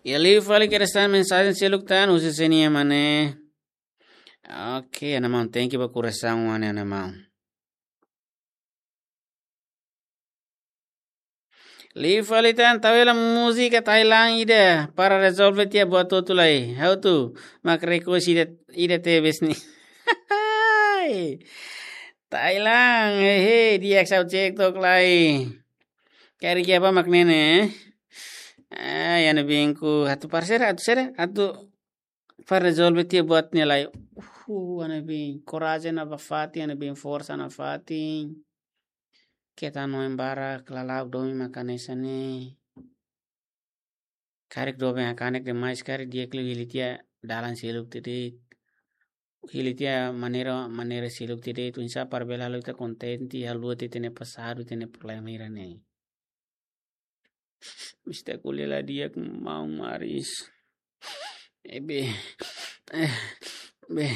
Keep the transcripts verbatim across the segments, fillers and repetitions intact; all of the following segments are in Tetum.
Iha liu fali keresan mensajen seluk tan husi sé nian, maun? Oke, ana maun, thank you ba koresan, maun, ana maun. Liu fali tan, tau hela múzika Thailand ida para rezolve tiha buat hotu lai. Ha'u atu mak request ida, ida tebes ne'e. Thailand, hehe, di'ak, ha'u cek tok lai. Karik iha bá mak ne'e ne'e. Ah, iha ne'ebé ku atu parseira, atu sere, atu para rezolve tiha buat ne'e lai. Uh, iha ne'ebé korajen nafatin, iha ne'ebé forsa nafatin. Keta no embara, klalak domin mak hanesan ne'e. Karik doben hakanek demais, karik di'ak liu hili tiha dalan seluk de'it. Hili tiha maneira, maneira seluk de'it. Oinsá para bele halo ita kontente, haluha tiha ita-nia pasadu, ita-nia problema hira ne'e. Mista ko'alia la di'ak, maun Maris. Eh, be. Eh, be.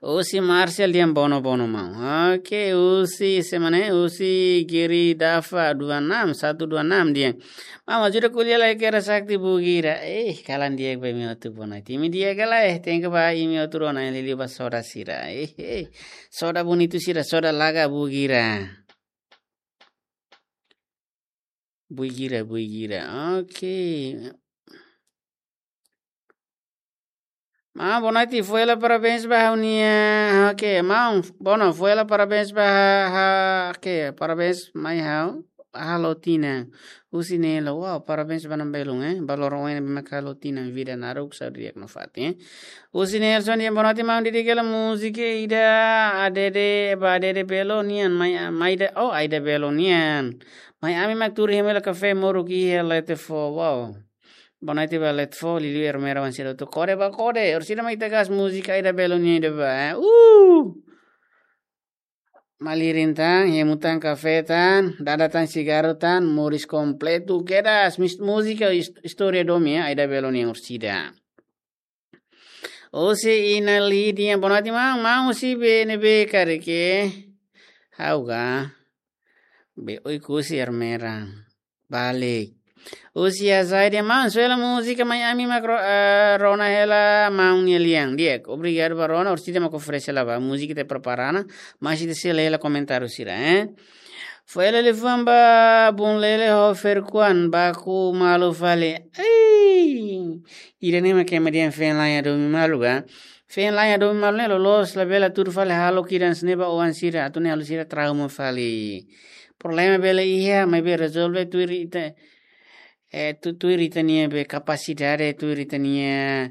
Husi Marcel dehan bono, bono maun. Oke, husi semana, husi Giri Dafa dua enam, satu dua enam dehan: Maun, ajuda ko'alia lai kera sakti bugira. Eh, kalan di'ak ba imi hotu, bonoite. Imi di'ak ka lae, thank you ba imi hotu rona, liuliu ba soda sira. Eh, eh. Soda bonitu sira, soda laga bugira. Bugira, bugira. Oke. Maun, bonoite, fó hela parabéns ba ha'u-nia. Oke, maun, bono, fó hela parabéns ba ha'u, ha'u, oke, parabéns mai ha'u, halo tinan. Husi Nelo, wow, parabéns ba ne'e belun, eh. Ba loron oin ne'ebé mak halo tinan, vida naruk, saúde di'ak nafatin, eh. Husi Nelson dehan: Bonoite maun, dedika hela múzika ida Adede, ba Adede Belo nian, mai, mai da, oh, Aida Belo nian. Mai ami mak tuur hemu hela kafé moruk iha Letfo, wow. Bonoite ba Letfo, liuliu Ermera wan sira hotu. Kode ba kode, orsida mai ita gas múzika Aida Belo nian ida ba, eh. Uh! Malirin tan, hemu tan kafé tan, dada tan sigarru tan, moris kompletu kedas, mis-, múzika is-, istória domin, eh, Aida Belo nian orsida. Husi Ina Lidia, bonoite maun, maun husi ne'ebé karik? Ha'u ka? Be, oiku husi Ermera. Balik. Husi Azai dehan: Maun, fó hela múzika mai ami mak ro-, eh, rona hela maun nia lian. Di'ak, obrigadu ba rona, orsida mak oferese hela ba. Múzika ita prepara ona, mas ita sei lee hela komentáriu sira, eh. Fó hela liafuan ba Bun Lele ho Ferkuan, baku malu fali. Ei! Ida-ne'e mak ema dehan feen-la'en hadomi malu ba. Feen-la'en hadomi malu ne'e loloos labele tuur fali hahalok ida hanesan ne'e ba oan sira, atu nune'e halo sira trauma fali. Problema bele iha, maibé rezolve tuir ita, eh, tu-, tuir ita-nia be kapasidade, tuir ita-nia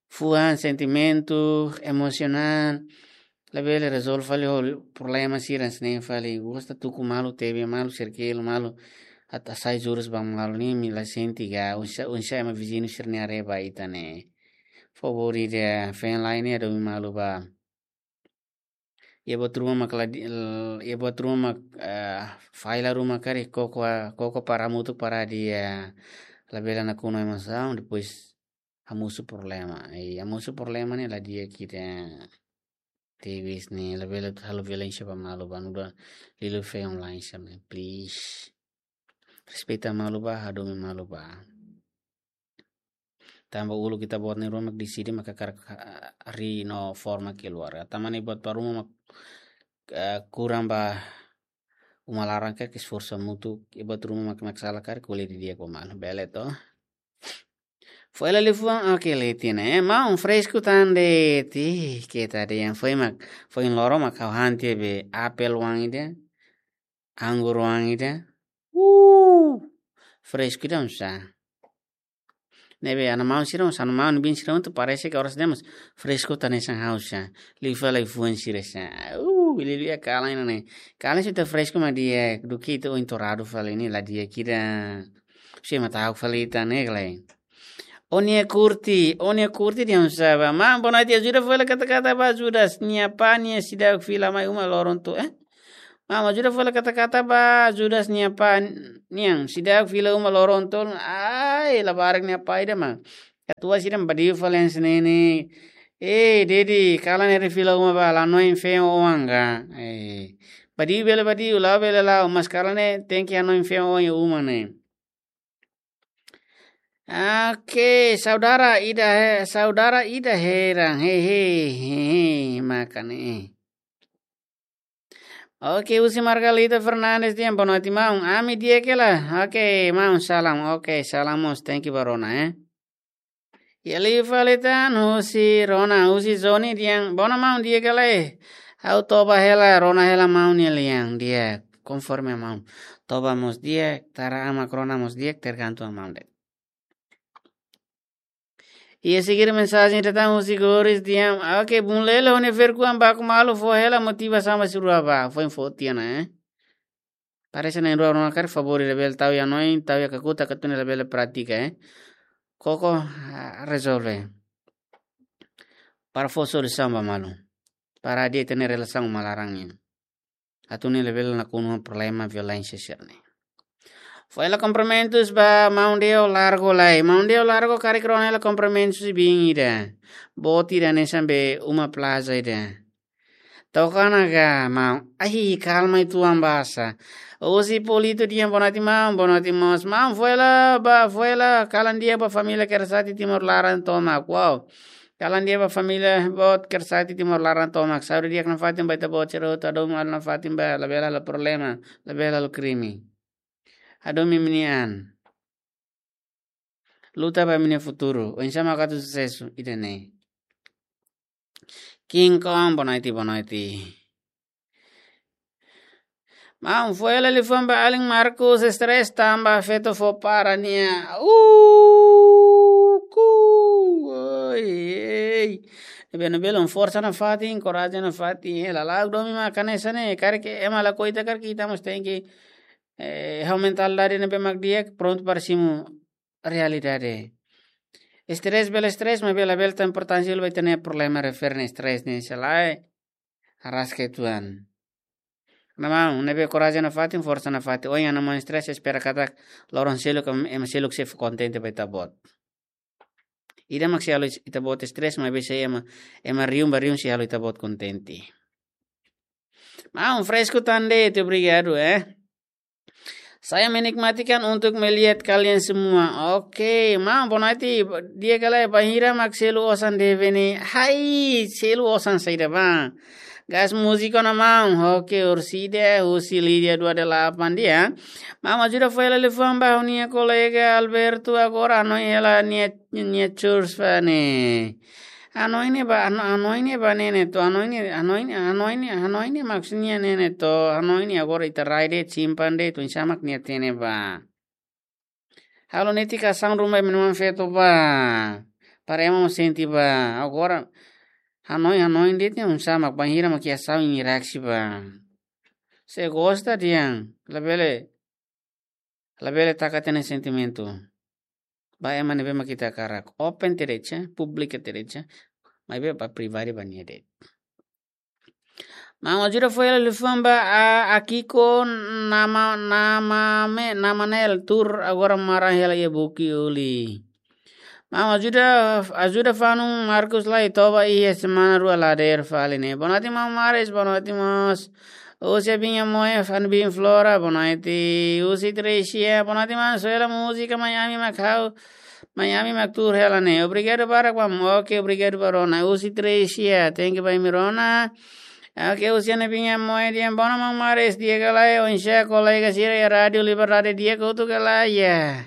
fuan, sentimentu, emosionál. Labele rezolve fali ho problema sira hanesan ne'e fali. Gosta tuku malu, tebe malu, serkelu malu, atu hasai jurus ba malu ne'e, imi la sente ka, oinsá, oinsá ema viziñu sira-nia haree ba ita ne'e. Favór ida, feen-la'en ne'e hadomi malu ba. Iha buat ruma mak la di-, l-, iha buat ruma mak, eh, falla ruma karik, koko, koko para hamutuk para hadi'a, labele nakonu emosaun, depois hamosu problema. Eh, hamosu problema ne'e la di'ak ida. Tebes ne'e, labele halo violénsia ba malu ba, nu'udar liuliu feen-la'en sira-ne'e, please. Respeita malu ba, hadomi malu ba. Tanba uluk ita-boot nia ruma mak deside mak hakarak, ah, harii no forma keluarga. Tanba ne'e buat ba ruma mak, ah, kurang ba uma laran ka, esforsu hamutuk, iha buat ruma mak, mak sala karik, ko'alia didi'ak ba malu, bele to. Fó hela liafuan, oke, lee tiha ona. Eh, maun, fresku tan de'it, keta dehan, foin mak, foin loron mak ha'u han tiha be apel oan ida, anggur oan ida. Uh, fresku ida oinsá. Ne'ebé ana maun sira, oinsá ana maun bin sira atu parese ka oras demos fresku tan hanesan ha'u sá. Liu fali liafuan sira sá. Uh, liuliu iha kalan ne'e. Kalan se ita fresku mak di'ak, duké ita oin toradu fali ne'e la di'ak ida. Se mak ta'uk fali ita ne'e ka lae. Ó-nia Kurti, ó-nia Kurti dehan oinsá ba. Maun, bonoite, ajuda fó hela kata-kata ba Judas nia apá nian seidauk fila mai uma loron to'o, eh? Maun, ajuda fó hela kata-kata ba Judas nia apá nian seidauk fila uma loron to'o. Ai, labarik nia apá ida mak. Katuas ida mak badiu fali hanesan ne'e. Eh, Dedi, kalan ne'e fila uma ba, la noin feen oan ka. Eh, Badiu bele badiu, la'o bele la'o, mas kalan ne'e tenke hanoin fiar oin uma ne'e. Oke, saudara ida he, saudara ida heran, he, he, he, he, maka ne'e. Oke, husi Margalita Fernandes dehan, boa noite, maun. Ami di'ak hela. Oke, maun, salam. Oke, salam mós, thank you ba rona, eh. Iha liu fali tan husi rona, husi Zoni dehan, boa noite, maun, di'ak hela, eh. Ha'u toba hela, rona hela maun nia lian, di'ak. Konforme maun. Toba mós di'ak, tara amak rona mós di'ak, tergantung maun de'it. Iha seguir mensajen datang husi Goris dehan, oke, bun lelo, hone ferkuan baku malu, fó hela motivasaun ba sira rua ba, foin fó tiha ona, eh. Parese na'in-rua rona karik favór ida bele tau iha hanoin, tau iha kakutak atu nune'e labele pratika, eh. Koko, ah, rezolve. Para fó solusaun ba malu. Para hadi'a ita-nia relasaun uma laran nian. Atu nune'e labele nakonu problema violénsia sira-ne'e. Fó hela kumprimentus ba maun Deo Largo lai. Maun Deo Largo karik rona hela kumprimentus biin ida. Boot ida hanesan be uma plaza ida. Toka ona ka, maun. Ai, kalma uitoan basa. Husi Polito dehan boa noite, maun. Boa noite, maun. Maun, fó hela ba, fó hela kalan di'ak ba família Kersati Timor laran tomak. Wow. Kalan di'ak ba família boot Kersati Timor laran tomak. Saúde di'ak nafatin ba ita-boot sira hotu, hadomi malu nafatin ba, labele halo problema, labele halo krime. Hadomi imi-nia an. Luta ba imi-nia futuru. Oinsá mak atu susesu ida-ne'e. King Kong, boa noite, boa noite. Maun, fó hela liafuan ba alin Marcos, stress tanba feto fó para nia. Uh, ku, oi, ei. Ne'ebé, ne'ebé, la'ós forsa nafatin, korajen nafatin, eh, lala'ok domin mak hanesan ne'e, karik ema lakohi ita, karik ita mós tenke, eh, ho mentalidade ne'ebé mak di'ak, prontu para simu realidade. Stress bele stress, maibé labele tau importánsia hela ba ita-nia problema refere stress ne'e, se lae, arraska uitoan. Maun, ne'ebé korajen nafatin, forsa nafatin. Ohin ana maun stress, espera katak loron seluk, ema seluk sei kontente ba ita-boot. Ida mak sei halo ita-boot stress, maibé sei ema, ema riun ba riun sei halo ita-boot kontente. Maun, fresku tan de'it, obrigadu, eh. Saya menikmatikan untuk melihat kalian semua. Oke, maun, boa noite, di'ak ka lae, bainhira mak selu osan de'it ne'e. Hai, selu osan saida ba. Gas múzika ona maun. Oke, Ursida, husi Lídia dua delapan dehan. Maun, ajuda fó hela liafuan ba ha'u-nia kolega Alberto agora hanoin hela nia, nia church fane. Hanoin ne'e ba, hano-, hanoin ne'e ba ne'e ne'e to, hanoin ne'e, hanoin ne'e, hanoin ne'e, hanoin ne'e maksudnya ne'e ne'e to, hanoin ne'e agora ita rai de'it, simpan de'it, oinsá mak nia hatene ba. Halo netik asaun ruma imi-nia maun feto ba. Para ema mós sente ba. Agora, hanoin, hanoin de'it ne'e oinsá mak bainhira mak iha asaun nia reaksi ba. Se gosta dehan, labele, labele taka ita-nia sentimentu. Ba ema ne'ebé mak ita hakarak. Open tiha de'it, públiku tiha de'it. Maibé ba pribadi ba nia de'it. Maun, ajuda fó hela liafuan ba, a, Akiko nama, nama me, nama nel tur agora mara hela iha buki uli. Maun, ajuda, ajuda fanun Marcos lai toba iha semana rua la dadeer fali ne'e. Boa noite, maun Maris, boa noite, maun. Husi Abinha Moe, fan bin Flora, boa noite. Husi Trecia, boa noite, maun. Selu múzika Miami mak ha'u, Miami mak tuur hela ne'e. Obrigadu barak, maun. Oke, obrigadu ba rona. Husi Trecia, thank you ba imi rona. Oke, husi Ana Abinha Moe dehan, boa noite, maun Maris, di'ak ka lae, oinsá kolega sira iha Rádiu Liberdade, di'ak hotu ka lae, ya.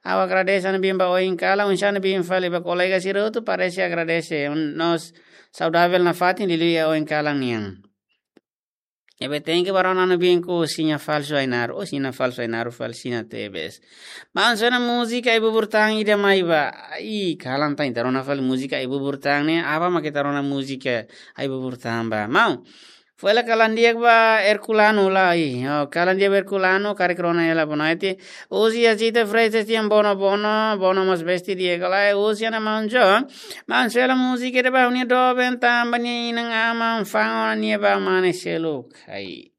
Ha'u agradese Ana Abinha ba oin kalan, oinsá Ana Abinha fali ba kolega sira hotu, parese agradese. Nos saudavel nafatin liuliu iha oin kalan nian. Ne'ebé thank you ba rona, Ana Abinha, ku siña falsu Ainaro. Oh, siña falsu Ainaro fali siña tebes. Maun, selu ona múzika Ai Bubur Tan ida mai ba. Ih, kalan tan ita rona fali múzika Ai Bubur Tan ne'e. Aban mak ita rona múzika Ai Bubur Tan ba. Maun, fó hela kalan di'ak ba Herculano lai. Oh, kalan di'ak ba Herculano, karik rona hela, boa noite. Husi Jacita Freitas dehan boa noite, boa noite, boa noite, maun Besti, di'ak ka lae. Husi Ana Maun John. Maun, selu ona múzika ida ba ha'u-nia doben tanba nia inan-aman fa'an ona nia ba mane seluk. Ai.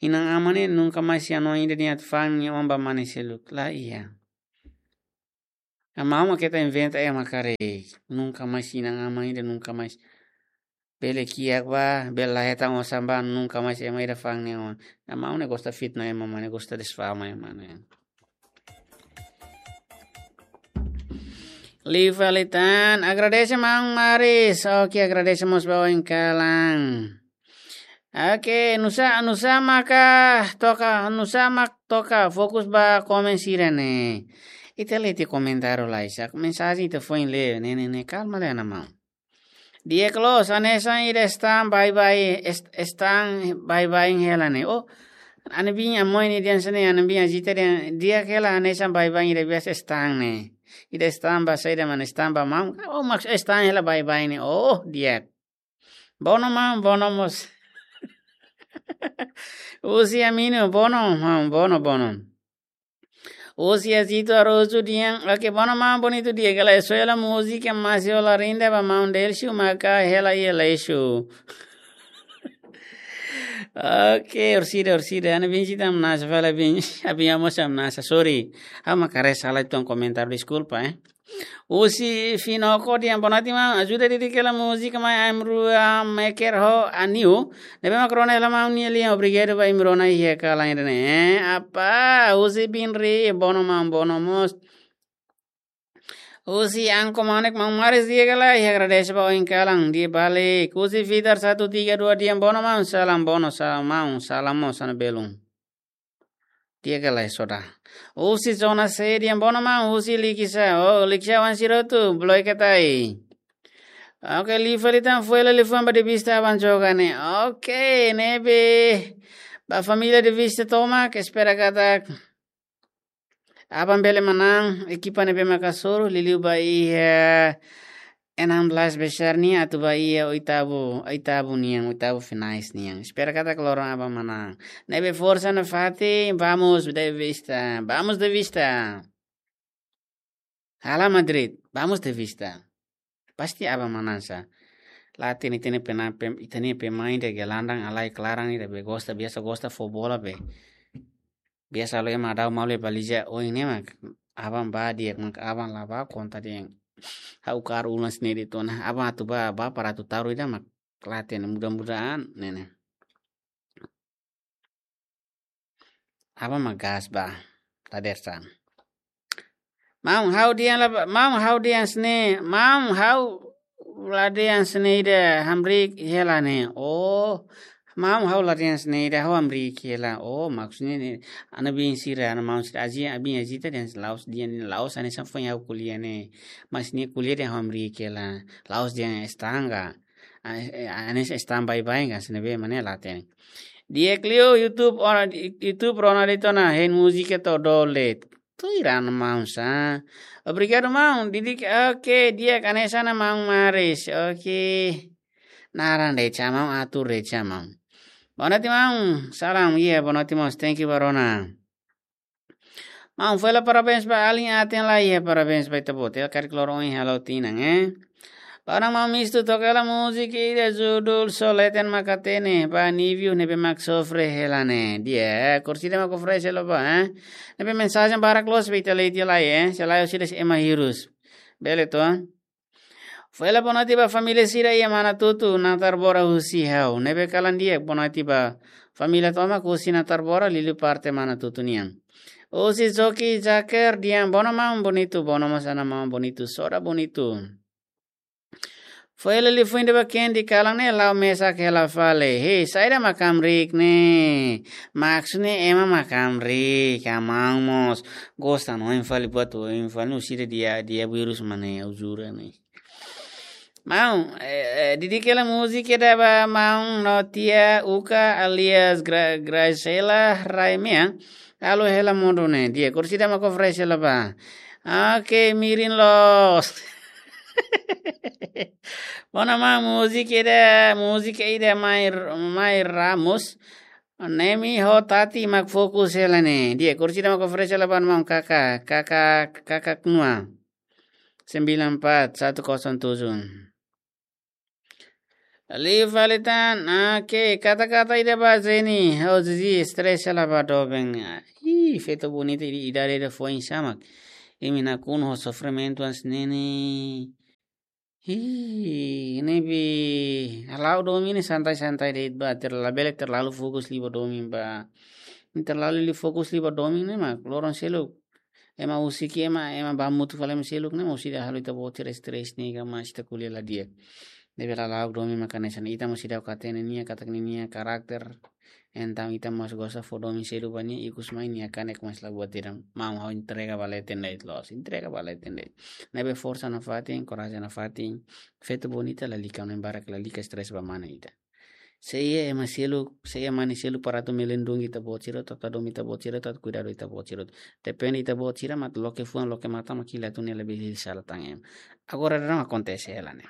Inan-aman ne'e nunka mais iha hanoin ida nia atu fa'an nia oan ba mane seluk. La iha. Maun, mak ita inventa ema karik. Nunka mais inan-aman ida, nunka mais. Bele kiak ba, bele la hetan osan ba, nunka mais ema ida fa'an nia oan. Maun ne'e gosta fitna ema, maun ne'e gosta desfama ema ne'e. Liu fali tan, agradese maun Maris. Oke, agradese mós ba oin kalan. Oke, nusá, nusá maka toka, nusá mak toka fokus ba komen sira-ne'e. Ita lee tiha komentáriu lai, sa mensajen ita foin lee, ne'e, ne'e, ne'e, kalma lai, ana maun. Di'ak loos, hanesan ida stan baibain, est-, stan baibain hela ne'e. Oh, ami-nia biin Amoy nian dehan hanesan ne'e, ami-nia biin Ajita dehan, di'ak hela hanesan baibain ida biasa stan ne'e. Ida stan ba saida mak ne'e, stan ba maun. Oh, mak stan hela baibain ne'e. Oh, di'ak. Bono maun, bono mós. Husi Amino, bono maun, bono, bono. Husi Azito Arosu dehan, oke, bono maun, bonitu di'ak, hela, só hela múzika Masi Ola Rinda ba maun Delcio maka hela iha lixu. Oke, orsida, orsida, ami-nia biin Ajita hamnasa, fala biin, ami-nia mós hamnasa, sorry. Ha'u mak haree sala uitoan komentáriu, deskulpa, eh. Husi Finoko dehan, boa noite maun, ajuda didik hela múzika Mai Aim Rua Meker ho Aniu. Ne'ebé mak rona hela maun nia lian, obrigadu ba imi rona iha kalan ida-ne'e. Eh, apa, husi Binri, bono maun, bono mós. Husi Anko Manek, maun Maris di'ak ka lae, agradese ba oin kalan, di'ak balik. Husi Fitar satu tiga dua dehan, bono maun, salam bono, salam maun, salam mós sana belun. Di'ak ka lae, soda. Husi Zona C dehan, bono maun, husi Likisá. Oh, Likisá wan sirotu, bloke tai. Oke, liu fali tan, foin hela liafuan ba De Vista aban joga ne'e. Oke, ne'ebé ba família De Vista tomak, espera katak aban bele manán, ekipa ne'ebé maka hasoru, liuliu ba iha enam belas besar nian, atu ba iha oitavu, oitavu nian, oitavu finais nian. Espera katak loron aban manán. Ne'ebé forsa nafatin, vamos De Vista, vamos De Vista. Hala Madrid, vamos De Vista. Pasti aban manán sa. Laten ita-nia pena-, pem-, ita-nia pemain ida gelandang alai klaran ida be gosta, biasa gosta fó bola be. Biasa halo ema dau malu ba Lija, oh, ne'e mak aban ba di'ak, mak aban la ba konta dehan. Ha'u kaer ulang sini di tona, aban atu ba, ba para atu taru ida mak laten, mudah-mudahan ne'e ne'e. Aban mak gas ba, la dersa. Maun, ha'u dehan la ba, maun, ha'u dehan hanesan ne'e, maun, ha'u la dehan hanesan ne'e ida hamriik hela ne'e. Oh, maun, ha'u la dehan hanesan ne'e ida, ha'u hamriik hela. Oh, maksudnya ne'e, ami-nia biin sira, ami-nia maun sira, Aji, ami-nia Ajita dehan la'ós dehan, la'ós hanesan foin ha'u ko'alia ne'e. Mas ne'e ko'alia dehan ha'u hamriik hela. La'ós dehan estanga. Ah, eh, hanesan stan baibain ka, hanesan ne'ebé mak ne'e laten. Di'ak liu YouTube, ora, YouTube rona de'it ona, hein múzika to'o dolet. Tuir an maun sa. Obrigadu maun, didik, oke, di'ak hanesan maun Maris, oke. Naran de'it sa maun, atur de'it sa maun. Boa noite maun, salam, iya, boa noite maun, thank you ba rona. Maun, foin hela parabéns ba alin aten lai, iya, parabéns ba ita-boot. Hela karik loron ohin halo tinan, eh. Ba ona maun Mistu, toka hela múzika ida judul Só Leten Mak Hatene, ba Nívio ne'ebé mak sofre hela ne'e. Di'ak, orsida mak oferese hela ba, eh. Ne'ebé mensajen barak loos be ita lee tiha lai, eh. Se lae orsida ema hirus. Bele to? Foin hela boa noite ba família sira iha Manatutu, Natarbora husi ha'u. Ne'ebé kalan di'ak, boa noite ba família tomak husi Natarbora, liuliu parte Manatutu nian. Husi Zoki Jaker dehan, bono maun bonitu, bono mós ana maun bonitu, soda bonitu. Foin hela liafuan ida ba Kendi, kalan ne'e la'o mesak hela fali. Hei, saida mak hamriik ne'e? Maksudnya ema mak hamriik, ka maun mós gosta no oin fali buat, oin fali no sira dia, dia virus mana ya, uzura ne'e. Maun, eh, eh, didik hela múzika ida ba maun no tia Uka alias Gra-, Graciela Raimea. Halo hela modo ne'e. Di'ak, orsida mak oferese hela ba. Oke, mirin loos. Bono maun, múzika ida, múzika ida Mai, Mai Ramos. Nemi ho Tati mak fokus hela ne'e. Di'ak, orsida mak oferese hela ba maun, kaka, kaka, kaka knua. Sembilan empat satu kosong tujuh. Liu fali tan, oke, kata-kata ida ba Zeni, ho Zizi, stress hela ba doben. Ih, feto bonita ida, ida, ida foin sa mak. Imi nakonu ho sofrimentu hanesan ne'e. Hi, ne'ebé ha'u domin ne'e santai-santai de'it ba, terla-, labele terlalu fokus liu ba domin ba. Terlalu liu fokus liu ba domin ne'e mak loron seluk ema husik, ema, ema ba hamutuk fali ema seluk ne'e mós ida halo ita-boot sira stres ne'e ka, mas ita ko'alia la di'ak. Ne'ebé ha'u domin mak hanesan ita mós ida ka hatene nia katak ninia karakter. Entaun ita mós gosta fó domin seluk ba nia, ikus mai nia kanek mós la buat ida. Maun, ha'u entrega ba leten de'it loos, entrega ba leten de'it. Ne'ebé forsa nafatin, korajen nafatin. Feto bonita lalika, ne'e barak lalika stres ba mane ita. Se iha ema seluk, se iha mane seluk para atu melindungi ita-boot sira, atu domin ita-boot sira, atu kuidadu ita-boot sira. Depende ita-boot sira mak loke fuan, loke matan mak hili atu ne'e labele hili sala tan ema. Agora daudaun akontese hela ne'e.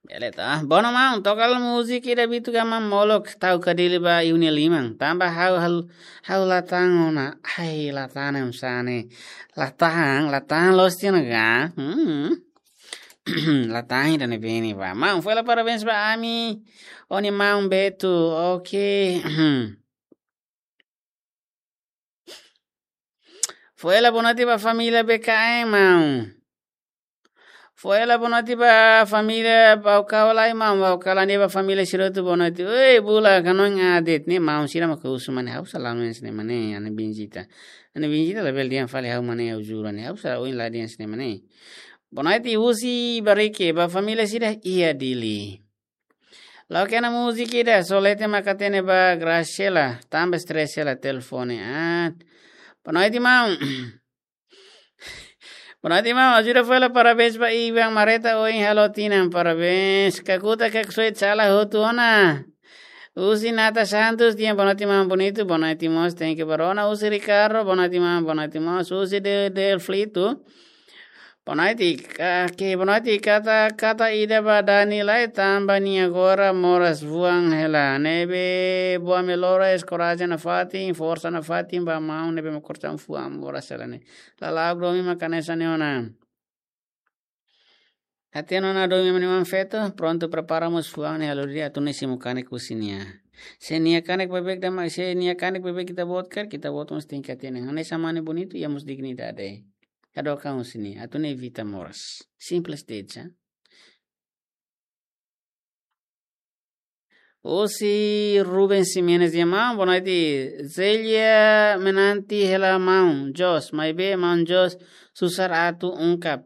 Bele ta. Bom, maun, toka hela múzika ida bitu ka maun, molok tau ka dili ba iha nia liman. Tanba ha'u, ha'u, ha'u la tahan ona. Ai, la tahan ne'e hanesan ne'e. La tahan, la tahan loos tiha ona ka? Hmm. La tahan ida ne'ebé ne'e ba. Maun, foin hela parabéns ba ami. Ó-nia maun Beto. Oke. Foin hela boa noite ba família B K M, maun. Foin hela boa noite ba família Baucau lai, maun. Baucau lai ne'e ba família sira hotu boa noite. Oi, bula kanoin adet ne'e maun sira mak husu mane, ha'u sala hanesan ne'e mane, Ana Benjita. Ana Benjita labele dehan fali ha'u mane, ha'u jura ne'e. Ha'u sala oin la dehan hanesan ne'e mane. Boa noite husi Bariki, ba família sira iha Dili. Loke ona múzika ida, só leten mak hatene ba Graciela, tanba stres hela telefone. Ah. Boa noite, maun. Boa noite, maun. Ajuda foin hela parabéns ba Ivan Mareta, ohin halo tinan, parabéns. Kakuta Kaksoit sala hotu ona. Husi Nata Santos, dehan boa noite, maun bonitu, boa noite mós, thank you, barona. Husi Ricardo, boa noite, maun, boa noite mós. Husi de, Del Flito. Boa noite, ka-, ke, boa noite, kata, kata ida ba Dani lai tanba nia agora moras fuan hela. Ne'ebé boa melhoras, korajen nafatin, forsa nafatin ba maun ne'ebé mak korsan fuan moras hela ne'e. Lala'ok domin mak hanesan ne'e ona. Hatene ona domin mak ne'e maun feto, prontu prepara mós fuan ne'e halo di'ak, atu nune'e simu kanek husi nia. Se nia kanek beibeik de'it mak, se nia kanek beibeik ita-boot karik, ita-boot mós tenke hatene. Hanesan mane bonitu, iha mós dignidade. Hadook an husi nia, atu nune'e evita moras. Simples de'it, sa. Husi Ruben Ximenes dehan maun, boa noite. Zelia Menanti hela maun Jos, maibé maun Jos susar atu ungkap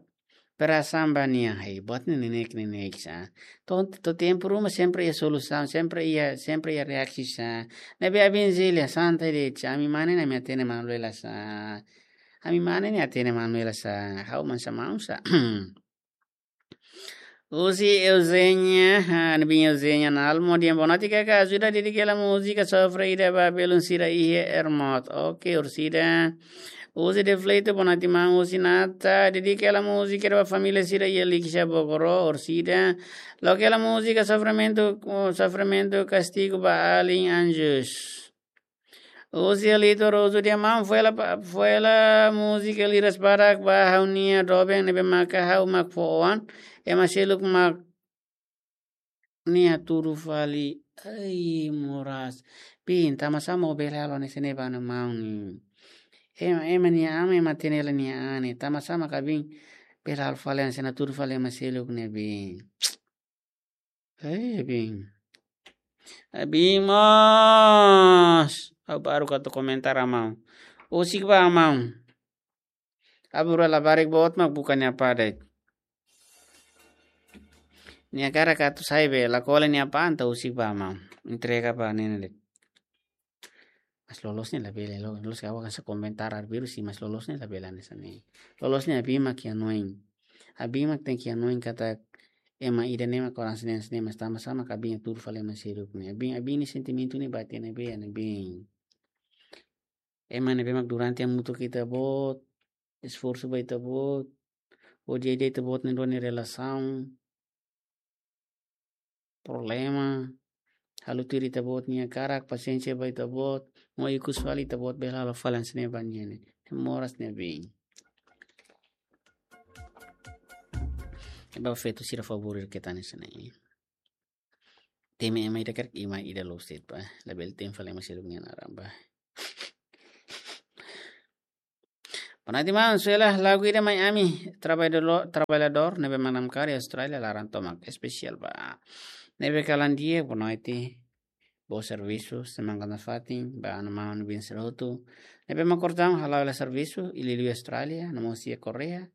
perasaan ba nia. Hei, buat ne'e neineik, neineik sa. To'o, to'o tempu ruma sempre iha solusaun, sempre iha, sempre iha reaksi sa. Ne'ebé abin Zelia, santai de'it sa. Ami mane ne'e ami hatene manuela sa. Ami mane ne'e hatene manuela sa. Ha'u hanesan maun sa. Husi Eugenia, ah, ne'ebé Eugenia Nalmo dehan boa noite kaka, ajuda dedika hela múzika sofre ida ba belun sira iha Ermot. Oke, orsida. Husi Defleito, boa noite maun. Husi Nata, dedika hela múzika ida ba família sira iha Likisá Bogoró, orsida. Loke hela múzika sofrimentu, sofrimentu kastigu ba alin anjus. Husi Alito Rosu dehan maun, foin hela pa-, foin hela múzika liras badak ba ha'u-nia doben ne'ebé maka ha'u mak fó ona, ema seluk mak ne'e hatudu fali. Ai, moras. Bin, tanbasá mak bele halo hanesan ne'e ba nia maun ne'e. Ema, ema nia aman, ema hatene hela nia an ne'e. Tanbasá mak abin bele halo fali hanesan ne'e, hatudu fali ema seluk ne'e bin. Eh, bin. Eh, bin mós. Ha'u baru atu komentar, maun. Husik ba maun. Abura labarik boot mak buka nia apá de'it. Nia hakarak atu sai be, la kole nia apá entaun husik ba maun. Entrega ba ne'e de'it. Mas loloos ne'e labele, lo-, loloos ka hanesan komentar arbiru sih, mas loloos ne'e labele hanesan ne'e. Loloos ne'e abin mak iha hanoin. Abin mak tenke iha hanoin katak ema ida ne'e mak korasaun hanesan ne'e, mas tanbasá mak abin hatudu fali ema seluk ne'e. Abin, abin nia sentimentu ne'e ba tiha ne'ebé, ne'ebé. Ema ne'ebé mak durante hamutuk ho ita-boot, esforsu ba ita-boot, hodi ida ita-boot na'in-rua nia relasaun, problema, halo tuir ita-boot nia hakarak, pasiénsia ba ita-boot, no ikus fali ita-boot bele halo fali hanesan ne'e ba nia ne'e. Moras ne'e bin. Eba feto sira favór keta hanesan ne'e. Temi ema ida karik ema ida loos de'it ba. Labele temi fali ema seluk nia naran ba. Bonoite maun, sei la lagu ida mai ami, trabalhador, trabalhador, ne'ebé mak namkari Austrália, laran tomak, espesiál ba. Ne'ebé kalan di'ak, bonoite, bom servisu, semangat nafatin, ba anu maun bin serotu. Ne'ebé mak kortaun, hala'o hela servisu, liuliu Austrália, no mós iha Koreia,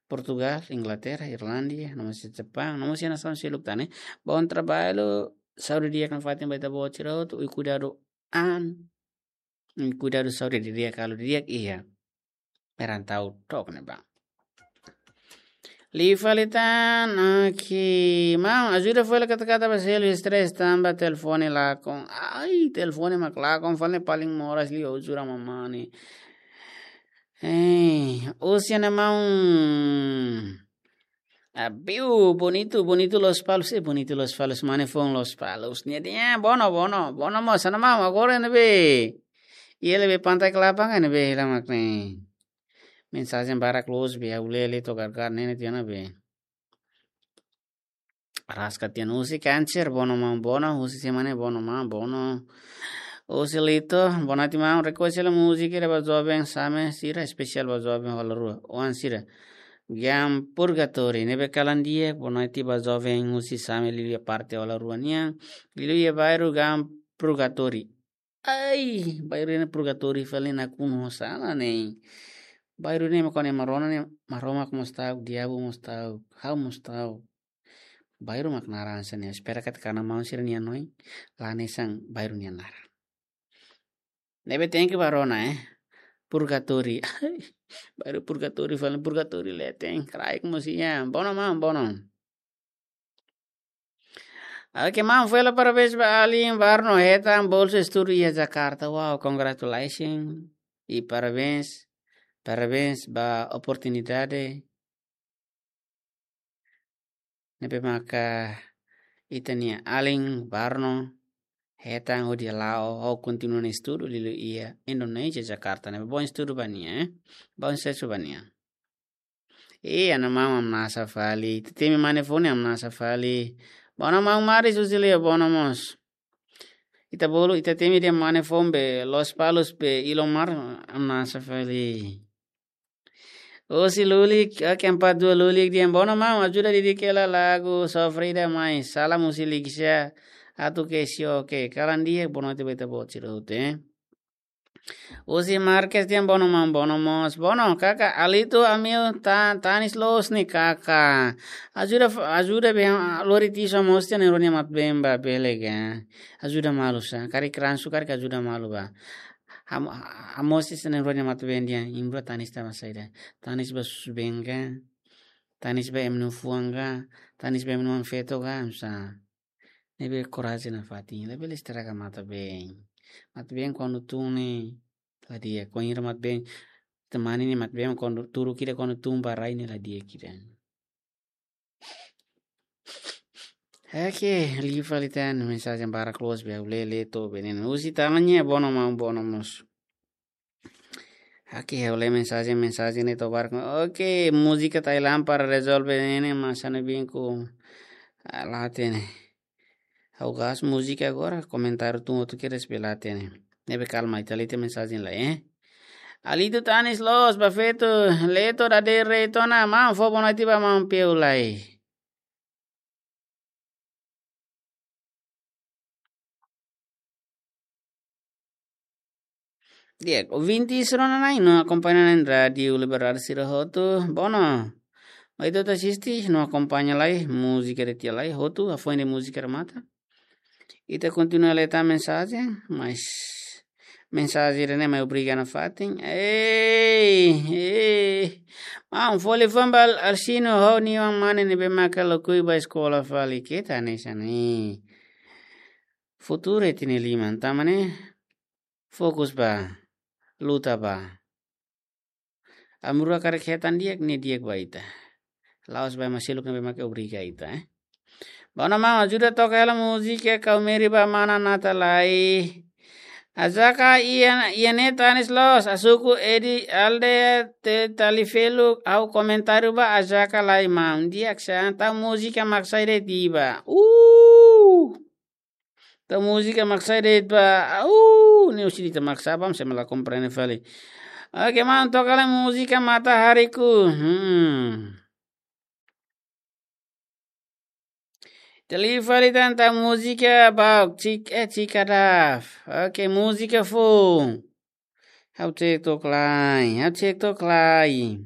Portugal, Inglaterra, Irlandia, no mós iha Japaun, no mós iha nasaun seluk tan ne'e. Bom trabalho, saúde di'ak nafatin ba ita-boot sira hotu, i kuidadu an. Kuidadu saúde di'ak, kalau di'ak iha. Merantau tok ne'ebá. Liu fali tan, oke. Maun, ajuda fali kata-kata ba selu stress tanba telefone lakon. Ai, telefone mak lakon fali ne'e paling moras liu ajuda mamani. Eh, husi nia maun. Abiu, bonitu, bonitu Lospalos, eh, bonitu Lospalos, mane foun Lospalos. Nia dehan, bono, bono, bono mós, anu maun, agora ne'ebé. Iha ne'ebé Pantai Kelapa ne'ebé, hela mak ne'e. Mensajen barak loos be, ha'u lee, lee to'o gargar ne'e, nia dehan ne'ebé. Araska tiha ona husi Kanser, bono maun, bono, husi Semane, bono maun, bono. Husi Lito, bonoite maun, rekolla múzika ida ba joven same sira, espesiál ba joven hola rua. Oan sira. Giam Purgatori, ne'ebé kalan di'ak, bonoite ba joven husi same liuliu iha parte hola rua nian, liuliu iha bairru Giam Purgatori. Ai, bairru ne'e Purgatori fali nakonu ho sala ne'e. Bairru ne'e mak kone Maromak ne'e, Maromak mós ta'uk, diabu mós ta'uk, ha'u mós ta'uk. Bairru mak naran hanesan ne'e, espera katak anu maun sira-nia hanoin, la hanesan bairru nia naran. Ne'ebé tenke ba rona, eh. Purgatori. Bairru Purgatori fali, Purgatori leten, kraik mós iha, bono maun, bono. Oke, maun, fó hela parabéns ba alin Barno hetan bolsa estudu iha Jakarta. Wow, congratulations. I parabéns, parabéns ba oportunidade ne'ebé maka ita-nia alin Barno hetan hodi hala'o, hodi kontinua nia estudu liuliu iha Indonézia, Jakarta. Ne'ebé bom estudu ba nia, eh? Bom susesu ba nia. Eh, anu maun, hamnasa fali. Ita temi mane foun ne'e hamnasa fali. Bono maun Maris husi Leo, bono mós. Ita bolu, ita temi dehan mane foun be, Lospalos be, Ilomar, hamnasa fali. Husi Lulik, oke, empat dua Lulik dehan, bono maun, ajuda didik hela lagu sofrida mai. Salam husi Likisha, atu ke sio, oke. Kalan di'ak, bonoite ba ita-boot sira hotu, eh. Husi Marques dehan, bono maun, bono mós. Bono, kaka, Alito, amiu, ta-, tanis loos ne'e, kaka. Ajuda, ajuda be, lori tisu, hamoos tiha na'in-rua nia matan-been ba, bele ga. Ajuda malu sá. Karik ransu, karik ajuda malu ba. Ham-, hamoos tiha na'in-rua nia matan-been dehan, imrua tanis tanba saida. Tanis ba susubeen ka. Tanis ba ema nia fuan ka. Tanis ba ema nia oan-feto ka, hamsa. Ne'ebé korajen nafatin, labele estraga matan-been. Matan-been kuandu tun ne'e, la di'ak, kuandu ita matan-been, temani ne'e matan-been, kuandu turu kida, kuandu tun ba rai ne'e la di'ak ida. Oke, liu fali tan, mensajen barak loos be, ha'u lee, lee to'o be ne'e. Husi Tanya, bono maun, bono mós. Oke, ha'u lee mensajen, mensajen ne'e to'o barak. Oke, múzika Thailand para rezolve ne'e, mas anu binku. Ah, la hatene. Ha'u gas múzika agora, komentáriu tun hotu kedas be la hatene. Ne'ebé kalma, ita lee tiha mensajen lai, eh. Alito tanis loos, ba feto, Leto dadeer reto ona, maun fó bonoite ba maun Peu lai. Di'ak, ouvinte sira-ne'e no akompaña ona Rádiu Liberdade sira hotu. Bono, mai ita asiste, no akompaña lai, múzika ida tiha lai, hotu, hafoin de'it múzika remata. Ita kontinua lee tan mensajen, mas mensajen ida-ne'e mai obriga nafatin. Ei, ei. Maun, fó liafuan ba Alsino ho nia oan mane ne'ebé maka lakohi ba eskola fali, keta hanesan ne'e. Futuru iha ita-nia liman, tanba ne'e fokus ba, luta ba. Ami rua karik hetan di'ak, ne'e di'ak ba ita. La'ós ba ema seluk ne'ebé maka obriga ita, eh. Bono maun, ajuda toka hela múzika Kau Meri ba mana Nata lai. Ajaka iha, iha ne'e tanis loos, asuku Edi Alde te tali felu, ha'u komentáriu ba ajaka lai maun. Di'ak sá, tau múzika mak sai de'it ba. Uh! Tau múzika mak sai de'it ba. Au, ne'e husi ita mak sai ba, se mala komprende fali. Oke, maun, toka lai múzika Matahariku. Hmm. Ita liu fali tan ita múzika Bauk Cik, eh, Cikadaf. Oke, múzika foun. Ha'u cek took lai, ha'u cek took lai.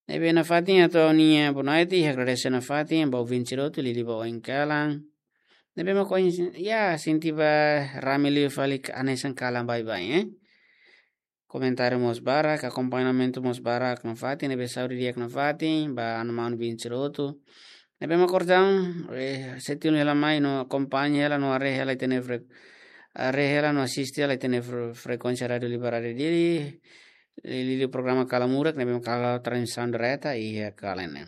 Ne'ebé nafatin atu ha'u-nia boa noite, agradese nafatin ba ouvinte sira hotu, liuliu ba oin kalan. Ne'ebé mak oin, ya, sente ba rame liu fali ka hanesan kalan baibain, eh. Komentáriu mós barak, akompañamentu mós barak nafatin, ne'ebé saúde di'ak nafatin ba anu-manu ouvinte sira hotu. Ne'ebé mak orsida, eh, sei tun hela mai no akompaña hela no haree hela ita-nia fre-, haree hela no asiste hela ita-nia fre-, frekuénsia Rádiu Liberdade Dili, liuliu programa Kala Murak, ne'ebé mak halo transmisaun direta iha kalan ne'e.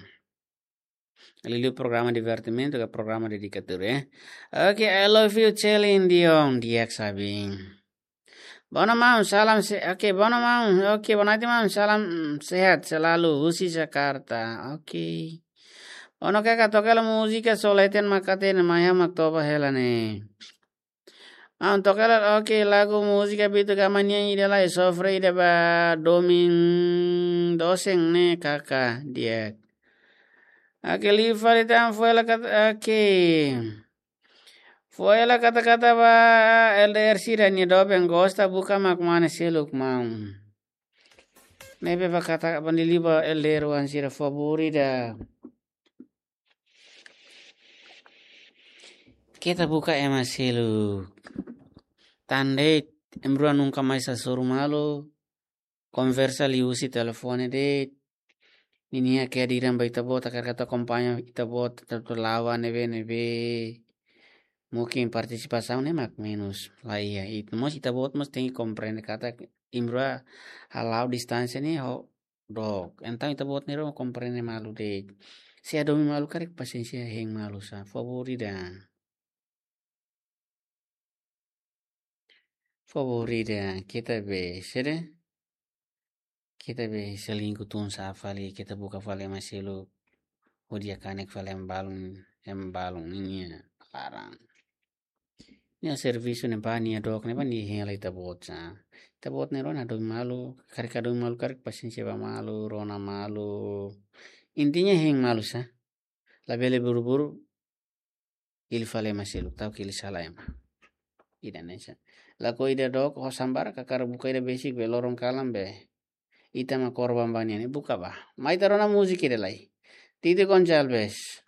Liuliu programa divertimentu ka programa dedikatóriu, eh. Oke, I love you, Celine Dion, di'ak sabi. Boa noite, maun, salam se-, oke, boa noite, maun, oke, boa noite, maun, salam, mm, sehat selalu, husi Jakarta, oke. Boa noite, kaka, toka hela múzika Só Leten Makate ne'e, mai ha'u mak toba hela ne'e. Maun, toka hela, oke, lagu múzika Bitu Gama nian ida lai, sofre ida ba domin dosen ne'e, kaka, di'ak. Oke, liu fali tan, fó hela kat-, oke. Fó hela kata-kata ba L D R sira-nia doben, gosta buka mak mane seluk, maun. Ne'ebé ba kata ba liuliu ba L D R oan sira, favór ida. Keta buka ema seluk. Tan de'it, ema rua nunka mais hasoru malu. Konversa liu husi telefone de'it. Ninia kehadiran ba ita-boot, hakarak atu akompaña ita-boot, atu la'o ba ne'ebé-ne'ebé. Mungkin partisipasaun ne'e mak menus. Laiha, it-, mós ita-boot mós tenke komprende katak ema rua hala'o distánsia ne'e ho dook. Entaun ita-boot nia rua komprende malu de'it. Se hadomi malu karik pasiénsia hein malu sá. Favór ida. Favór ida, keta be, sede? Keta be selingkuh tun sá fali, keta buka fali ema seluk. Hodi kanek fali ema balun, ema balun ninia laran. Nia servisu ne'e ba nia dook ne'e ba nia hein hela ita-boot sá. Ita-boot nia rona hadomi malu, karik hadomi malu karik pasiénsia ba malu, rona malu. Intinya hein malu sá. Labele buru-buru hili fali ema seluk, ta'uk hili sala ema. Ida-ne'e sá. Lakohi ida dook, ho sambar, hakarak buka ida besik be loron kalan be ita mak korban ba nia ne'e, buka ba. Mai ita rona múzika ida lai. Titi Gonçalves.